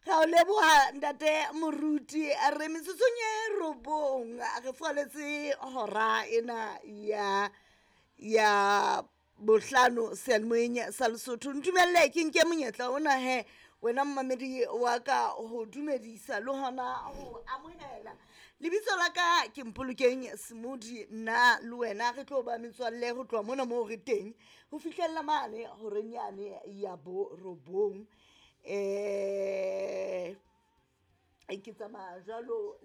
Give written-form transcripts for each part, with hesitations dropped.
Ra o leboha ntate moruti. Re metsotsong e 9, re fwaletse hora ena ya bohlano seyalemoyeng sa Lesotho. Ntumelle ke nke monyetla ona he, wena mmamedi wa ka, ho dumedisa le hona ho amohela. Lebitso la ka ke Mpolokeng Semodi. Nna le wena re tlo ba metswalle ho tloha mona moo re teng ho fihlella mane horeng yane ya borobong. Ke tsamaya jwalo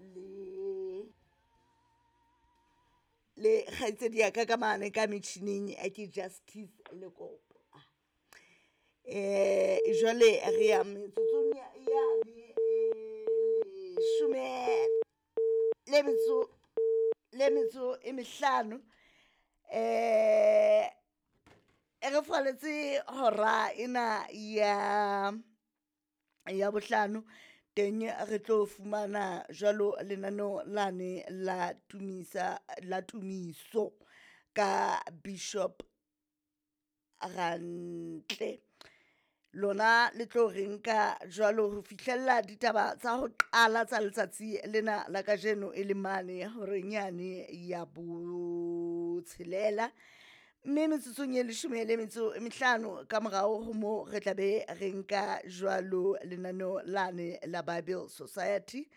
le kgaitsedi ya ka ka mane ka metjhining ke Justice Lekopo. Jwale re ya metsotsong yane e leshome le metso e mehlano, re fwaletse hora ena ya bohlano. Teng re tlo fumana jwalo lenaneo lane la tumisa la tumiso ka Bishop Rantle. Lona le tlo re nka jwalo ho fihlella ditaba tsa ho qala tsa letsatsi lena la kajeno, e le mane horeng yane ya botshelela, mme metsotsong e leshome le metso e mehlano ka morao ho mo re tla be re nka jwalo lenaneo lane la Bible Society.